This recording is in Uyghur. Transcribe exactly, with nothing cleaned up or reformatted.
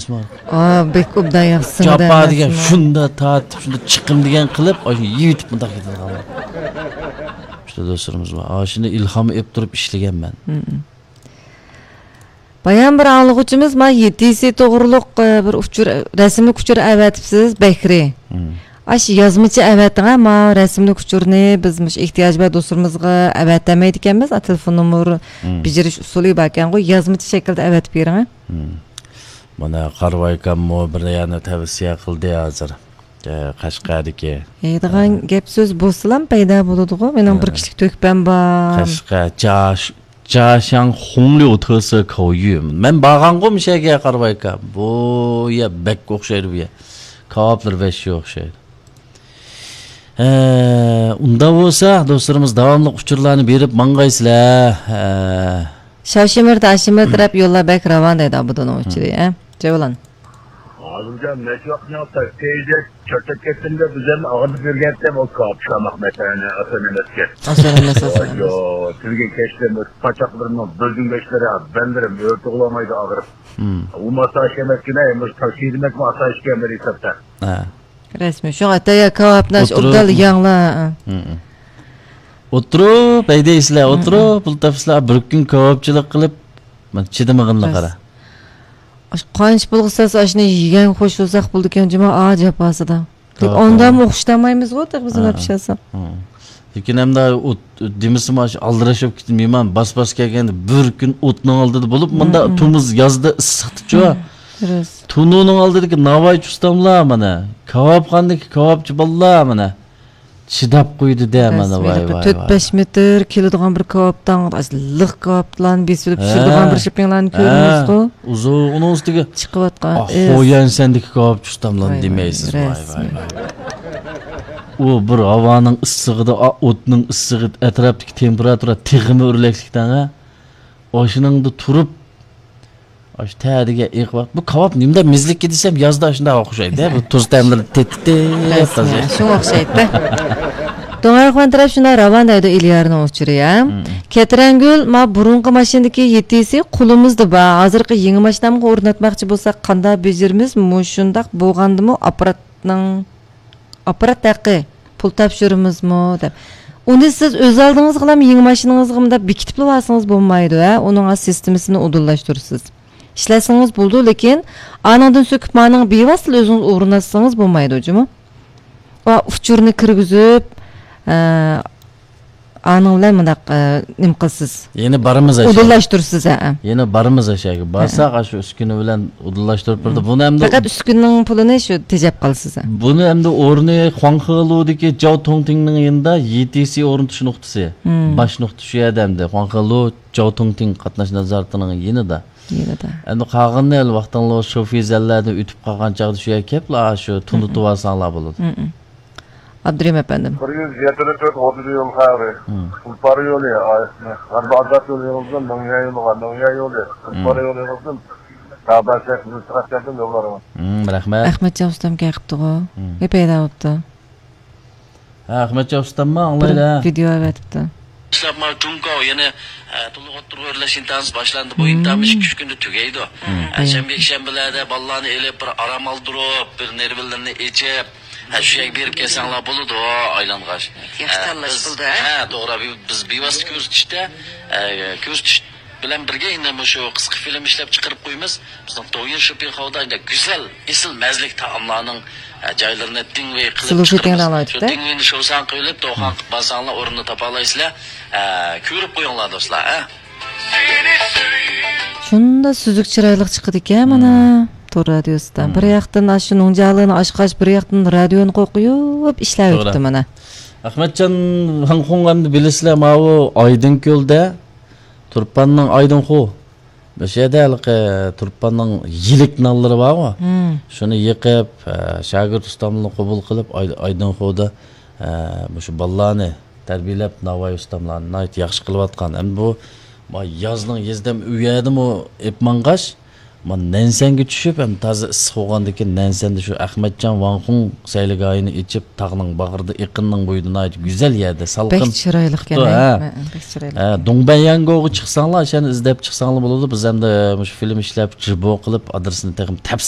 ئا، بەك ئوبدان ياخشى سىڭدى جاپا دېگەن ئەمەسمۇ؟ شۇندا تارتىپ، شۇندا چىقىم دېگەن قىلىپ، ئاشۇ يېيىۋېتىپ مۇنداق كېتىدىغانلار. شۇ دوستلىرىمىز بار. ئاشۇنى ئىلھام ئېلىپ تۇرۇپ ئىشلىگەنمەن. مم. بايام بىر ئاڭلىغۇچىمىز ما يېتىسى توغرۇلۇق، ئە، بىر ئۇچۇر، رەسىملىك ئۇچۇر ئەۋەتىپسىز، بەكرى. مم. ئاشۇ يازمىچە ئەۋەتىڭە، ما رەسىملىك ئۇچۇرنى بىز مۇشۇ ئېھتىياجى بار دوستلىرىمىزغا ئەۋەتەلمەيدىكەنمىز. ئا، تېلېفون نومۇر مم. بېجىرىش ئۇسۇلى باركەنغۇ، يازمىچە شەكىلدە ئەۋەتىپ بېرىڭە. مم. مانا قارىۋايكاممۇ بىر يەرنى تەۋسىيە قىلدى ھازىر. ئە، قەشقەردىكى. ھەيدىغان ئە. گەپ سۆز بولسىلام پەيدا بولىدىغۇ. مېنىڭ بىر ئە. كىشىلىك تۆھپەم بار. قەشقەر، جاش، جاشاڭ خۇڭليۇ تېسې كاۋيۈ. مەن بارغانغۇ مۇشۇ يەرگە قارىۋايكا. بۇ يەر بەك ئوخشايدۇ بۇ يەر. كاۋاپلىرى ۋەھشىي ئوخشايدۇ. ئە، ئۇنداق بولسا، دوستلىرىمىز داۋاملىق ئۇچۇرلارنى بېرىپ ماڭغايسىلەر. ئە. شاۋشىمىرت، ئاشىمىرت دەپ يوللار بەك راۋان دەيدۇ ئابدۇنىڭ ئۇچۇرى، ئە. جەۋلان. ھازىرجان نەچچە ۋاقىت مېڭىپتا، تېيىدە چۆرتەپ كەتتىمدە، بىزەرنى ئاغرىتىپ يۈرگەنتىم، ئۇ كاۋاپ پىشۇرماق مەسىلەنى ئاسان ئەمەسكەن. ئاسان ئەمەس، ئاسان ئەمەس. يو، تۈنۈگۈن كەچتە پاچاقلىرىمنىڭ بۆلجۈڭگەشلىرى، بەندلىرىم ئۆرتە بولالمايدۇ ئاغرىپ. مم. ئۇ ماساژ ئەمەسكىنە، مۇشۇ تاكسى دېمەكمۇ ئاسايىشكەن بىر ھېسابتا. ھە. رەسمىي. شۇڭا ئەتە يا كاۋاپنى ئولتۇرۇپ. ئوبدان يەڭلار. مم. ئولتۇرۇپ، ھەيدەيسىلەر، مم. ئولتۇرۇپ، پۇل تاپىسىلەر، بىر كۈن كاۋاپچىلىق قىلىپ، مانا چىدىمىغىنىغا قارا. ئاشۇ قانچە پۇلغا سالسا، ئاشۇنى يېگەن خوش بولساق بولىدىكەن جۇمۇ، ئا، جاپاسىدا. لېكىن ھا، ئاندىمۇ ھا. ئوخشىتالمايمىزغۇ، تېخى بىز ھا، ئۇنداق ھا. پىشىرساق. ھا. لېكىن ئەمدى ئۇ دېمىسىمۇ، ئاشۇ ئالدىراش بولۇپ كېتىپ، مېھمان باس-باس كەلگەندە بىر كۈن ئوتنىڭ ئالدىدا بولۇپ، مۇنداق ھا، ھا. تومۇز يازدا ئىسسىقتىچۇ. ھا، راست. تونۇرنىڭ ئالدىدىكى ناۋايچى ئۇستاملار مانا، كاۋاپخانىدىكى كاۋاپچى بالىلار مانا، چىداپ قويدى-دە، مانا، ۋاي، ۋاي، ۋاي. تۆت بەش مېتىر كېلىدىغان بىر كاۋاپتاڭ، لىق كاۋاپلارنى بېسىۋېلىپ پىشۇرىدىغان ھە. بىر شېپىڭلارنى ھە. كۆرىمىزغۇ. ئۇزۇن، ئۇنىڭ ئۈستىگە چىقىۋاتقان ئا، ئىس. خويەنسەندىكى كاۋاپچى ئۇستاملارنى ۋاي، ۋاي، دېمەيسىز، ۋاي، ۋاي، رەسمىي. ۋاي. ئۇ بىر ھاۋانىڭ ئىسسىقىدا، ئا، ئوتنىڭ ئىسسىقى، ئەتراپتىكى تېمپېراتۇرا تېخىمۇ ئۆرلەكلىكتەڭ، ھە؟ ئاشۇنىڭدا تۇرۇپ، ئاشۇ تەدىگە ئېقىۋات-، بۇ كاۋاپ نېمىدە مېزىلىككە دېسەم، يازدا شۇنداق ئوخشايدۇ، بۇ تۇز تەملىرى تېتىتىپ تازا. شۇڭا ئوخشايدۇ. دوڭئەرخان تەرەپ شۇنداق راۋان دەيدۇ ئىليارنىڭ ئۇچۇرى، ھە؟ مم. كەترەنگۈل، ما بۇرۇنقى ماشىنىدىكى يېتىسى قولىمىزدا بار. ھازىرقى يېڭى ماشىنامغا ئورناتماقچى بولساق قانداق بېجىرىمىز؟ مۇشۇنداق بولغاندىمۇ ئاپپاراتنىڭ ئاپپارات ھەققى، پۇل تاپشۇرىمىزمۇ دەپ. ئۇنى سىز ئۆز ئالدىڭىزغىلا يېڭى ماشىنىڭىزغا مۇنداق بېكىتىپلا بارسىڭىز بولمايدۇ، ھە؟ ئۇنىڭ سىستېمىسىنى ئۇدۇللاشتۇرىسىز. ئىشلەتسىڭىز بولىدۇ، لېكىن ئانىڭدىن سۆكۈپ مانىڭغا بىۋاسىتە ئۆزىڭىز ئورۇنلاتسىڭىز بولمايدۇ جۇمۇ. ۋە ئۇچۇرنى كىرگۈزۈپ، ئە، ئانىڭ بىلەن مۇنداق، ئە، نېمە قىلىسىز؟ يەنە بارىمىز ئاشۇ يەرگە. ئۇدۇللاشتۇرىسىز، ھە. يەنە بارىمىز ئاشۇ يەرگە. ھە. بارساق، ئاشۇ ئۈسكۈنە بىلەن ئۇدۇللاشتۇرۇپ بېرىدۇ. مم. بۇنى ئەمدى پەقەت ئۈسكۈنىنىڭ پۇلىنى شۇ تېجەپ قالىسىز، ھە. بۇنى ئەمدى ئورنى خۇاڭخېلۇدىكى جاۋ توڭتىڭنىڭ يېنىدا يې تې سى ئورنىتىش نۇقتىسى. مم. باش نۇقتا شۇ يەردە ئەمدى. خۇاڭخېلۇ جاۋ توڭتىڭ قاتناش نازارىتىنىڭ يېنىدا. يېنىدا. ئەمدى قالغىنىنى ھېلى ۋاقتىڭلار شۇ فېزەللەردىن ئۆتۈپ قالغان چاغدا شۇ يەرگە كېلىپلا شۇ مم. تونۇتۇۋالساڭلار بولىدۇ. مم. ئابدۇرېھىم ئەپەندىم. بىر يۈز يەتتە تۆت ئوتتۇز يول خەۋىرى. مم. تۇلپار يولى، ئايسىنى. غەربىي ئازاد يولى يېغىزدىن، مىڭيە يولىغا، مىڭيە يولى. تۇلپار مم. يولى يېغىزدىن، تابەسەك، مىلتىقاتكەردىن يوللارغا. مم، رەھمەت. ئەخمەتجان ئۇستام كەل قىپتىغۇ. مم. نېمە پەيدا بوپتۇ؟ ھە، ئەخمەتجان ئۇستاممۇ بىر ئاڭلايلى. ۋىدېئو ئەۋەتىپتۇ. ئىشلەپ مانا جۇڭگو يەنە، ئە، تولۇق ئوتتۇرىغا ئۆرلەش ئىمتىھانى باشلاندى. بۇ مم. ئىمتىھان مۇشۇ ئۈچ كۈندە تۈگەيدۇ. مم. ئە، شەنبە، يەكشەنبىلەردە بالىلارنى ئېلىپ، بىر ئارام ئالدۇرۇپ، بىر نېرۋىلىرىنى ئېچىپ، ھە، شۇ يەرگە بېرىپ كەلسەڭلار بولىدۇ، ئايلانغاچ. ياخشى ھە، تاللاش بىز، بولدى، ھە؟ ھە، توغرا، بىز، بىز بىۋاسىتە كۆرسىتىشتە، ئە، كۆرسىتىش بىلەن بىرگە يەنە مۇشۇ قىسقا فىلىم ئىشلەپ چىقىرىپ قويىمىز. بىزنىڭ دويىن شوپىڭ خاۋدا گۈزەل، ئېسىل مەززىلىك تائاملارنىڭ، ئە، جايلىرىنى دىڭۋېي قىلىپ سىلۇ شۇتىڭ چىقىرىمىز. دەڭلەۋاتىپتۇ. شۇ دىڭۋېينى شوۋساڭ قىلىپ، دوخان قىلىپ بارساڭلار ئورنىنى تاپالايسىلەر. ئە، كۆرۈپ قويۇڭلار دوستلار، ئە. شۇنداق سۈزۈك چىرايلىق چىقىدىكەن مانا مم. تور رادىيوسىدا. مم. بىر ياقتىن ئاشۇ نۇڭجالىنى ئاچقاچ، بىر ياقتىن رادىيونى قويۇپ ئىشلەۋېتىپتۇ توغرا. مانا. ئەخمەتجان ۋاڭخۇڭ ئەمدى بىلىسىلەر، ماۋۇ ئايدىڭكۆلدە تۇرپاننىڭ ئايدىڭخۇ. مۇشۇ يەردە ھېلىقى تۇرپاننىڭ يىلىك نانلىرى بارغۇ. مم. شۇنى يېقىپ، ئە، شاگىرت ئۇستاملىرىنى قوبۇل قىلىپ، ئاي-، ئايدىڭخۇدا، ئە، مۇشۇ بالىلارنى تەربىيەلەپ، ناۋايى ئۇستاملارنى ناھايىتى ياخشى قىلىۋاتقان. ئەمدى بۇ، ما يازنىڭ يېزىدا ئۇ يەردىمۇ ئېپ ماڭغاچ، ما نەنسەنگە چۈشۈپ، ئەمدى تازا ئىسسىق بولغاندىكىن، نەنسەندە شۇ ئەخمەتجان ۋاڭخۇڭ سەيلىگاھىنى ئېچىپ، تاغنىڭ باغرىدا، ئېقىننىڭ بويىدا ناھايىتى گۈزەل يەردە، سالقىن. بەك چىرايلىق ئىكەن، ھە. ھە، بەك چىرايلىق. ھە، دۇڭبەنيەنگوغا چىقساڭلار، ئاشۇنى ئىزدەپ چىقساڭلار بولىدۇ. بىز ئەمدى مۇشۇ فىلىم ئىشلەپ، جىبو قىلىپ، ئادرېسىنى تېخىمۇ تەپسىلىي